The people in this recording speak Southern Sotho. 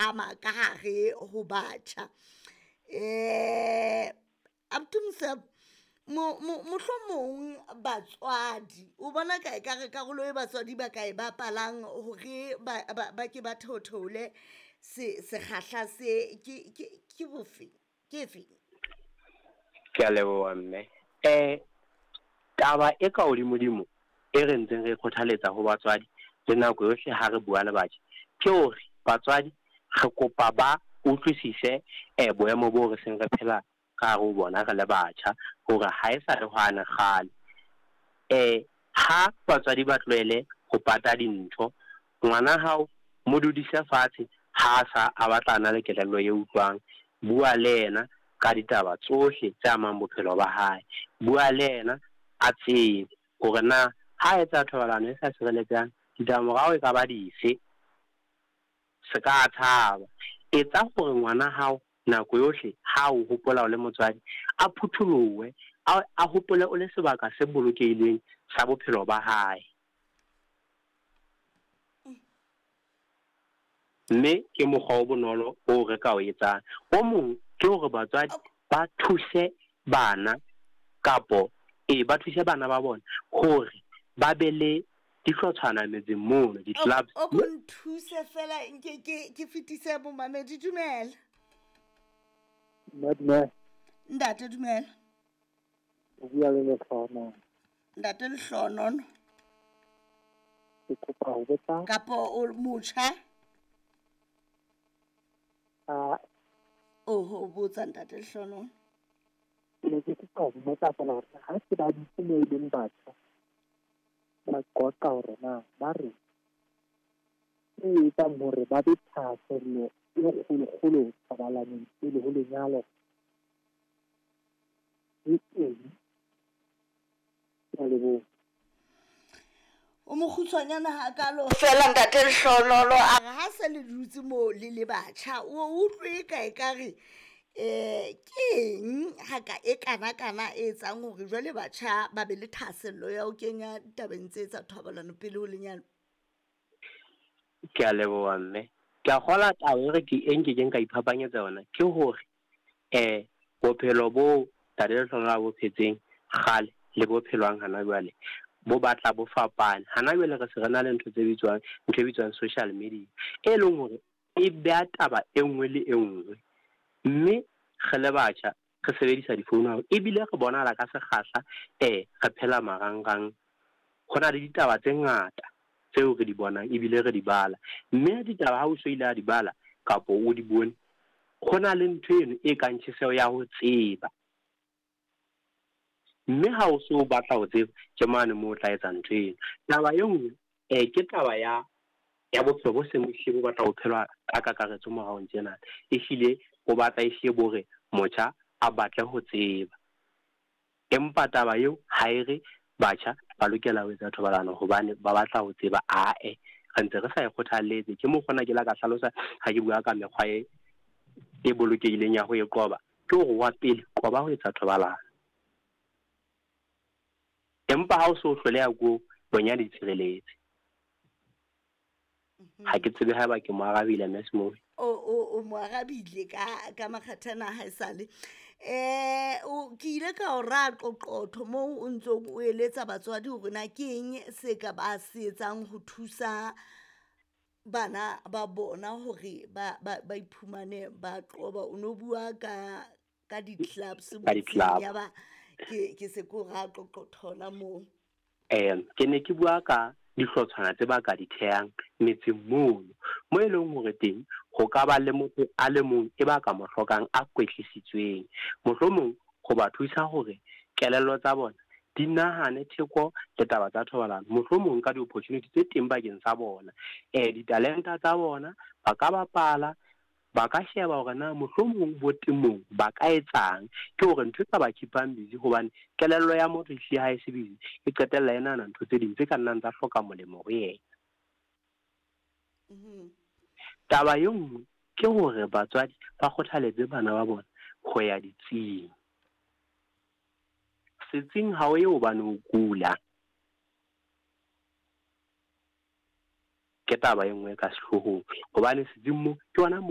phahama ka hare ho batjha. Abuti Mosebo, mohlomong batswadi o bona ka ekare karolo e batswadi ba ka e bapalang hore ba ke ba theotheole sekgahla se ke bofe, ke efeng? Ke a leboha mme. Taba e ka hodimodimo e re ntseng re kgothaletsa ho batswadi le nako yohle ha re bua le batjha, ke hore batswadi re kopa ba utlwisise boemo boo re seng re phela ka hare ho bona re le batjha, hore ha e sa le hwane kgale. Ha batswadi ba tlohele ho pata dintho, ngwana hao mo dudise fatshe ha sa a batla a na le kelello e utlwang, bua le yena ka ditaba tsohle tse amang bophelo ba hae. Bua le yena a tsebe hore na ha etsa thobalano e sa sireletsehang ditlamorao e ka ba dife, se ka tshaba. Etsa hore ngwana hao nako yohle ha o hopola o le motswadi a phutholohe, a hopole o le sebaka se bolokehileng sa bophelo ba hae. Mme ke mokgwa o bonolo o re ka o etsang. O mong ke hore batswadi ba thuse bana kapo ba thuse bana ba bona hore ba be le dihlotshwana metseng mono, di-clubs. O ko nthuse fela nke ke fetise bomamedi. Dumela. Dumela. Ntate dumela. O bua le Lehlohono. Ntate Lehlohono. Ke kopa ho botsa. Kapo o motjha? Oho, botsa ntate Lehlohono. Ke ne ke kopa ho botsa fela hore ha se ba dutse moo e leng batjha, ba qoqa hore na ba re e etsang hore ba be thahasello e kgolokgolo thobalanong pele ho lenyalo ke eng? Ke a leboha. O mokgutshwanyana hakalo fela ntate Lehlohono, a re ha se le dutse moo le le batjha, o utlwe ka ekare ke eng ha ka e kana kana e etsang hore jwale batjha ba be le thahasello ya ho kenya ditabeng tse tsa thobalano pele ho lenyalo? Ke a leboha mme. Ke a kgola taba e re ke e nkekeng ka iphapanyetsa yona ke hore bophelo bo ntate Lehlohono a bo phetseng kgale le bo phelwang hana jwale bo batla bo fapane. Hana jwale re se re na le ntho tse bitswang, ntho e bitswang social media, e leng hore e beha taba e nngwe le e nngwe. Mme re le batjha re sebedisa difounu haholo, ebile re bonahala ka sekgahla re phela marangrang. Ho na le ditaba tse ngata tseo re di bonang ebile re di bala, mme ditaba ha o so ile a di bala kapo o di bone, ho na le ntho eno e kang tjheseho ya ho tseba. Mme ha o so batla ho tseba, ke mane moo o tla etsa ntho eno. Taba e nngwe ke taba ya bophelo bo seng bo hlile bo batla ho phelwa ka kakaretso moraong tjena. Ehlile bo batla ehlile bo re motjha a batle ho tseba. Empa taba eo ha e re batjha ba lokela ho etsa thobalano hobane ba batla ho tseba, ae re ntse re sa e kgothalletse. Ke mokgwa ona ke la ka hlalosa ha ke bua ka mekgwa e bolokehileng ya ho e qoba, ke hore wa pele qoba ho etsa thobalano. Empa ha o so hloleha ko bonyane ditshireletse. Ha ke tsebe haeba ke mo arabile Mme Smoby. O mo arabile ka makgathana ha esale. Ke ile ka o ra qoqotho moo o ntsong o eletsa batswadi hore na ke eng se ka ba se etsang ho thusa bana ba bona hore ba iphumane ba qoba. O no bua ka di-clubs motseng, ya ba ke se ko ra qoqotho hona moo. Ke ne ke bua ka dihlotshwana tse ba ka di thehang metseng mono, mo e leng hore teng ho ka ba le motho a le mong e ba ka mo hlokang a kwetlisitsweng, mohlomong ho ba thusa hore kelello tsa bona di nahane theko le taba tsa thobalano, mohlomong ka di-opportunity tse teng bakeng sa bona, ditalenta tsa bona ba ka bapala, ba ka sheba hore na mohlomong bo temong ba ka etsang. Ke hore ntho e ka ba keep-ang busy, hobane kelello ya motho ehlile ha e se busy e qetella e nahana ntho tse ding tse ka nnang tsa hloka molemo ho yena. Taba e nngwe ke hore batswadi ba kgothaletse bana ba bona ho ya ditsing. Setsing ha o ye hobane o kula. Ke taba e nngwe ka sehloohong, hobane setsing mo ke hona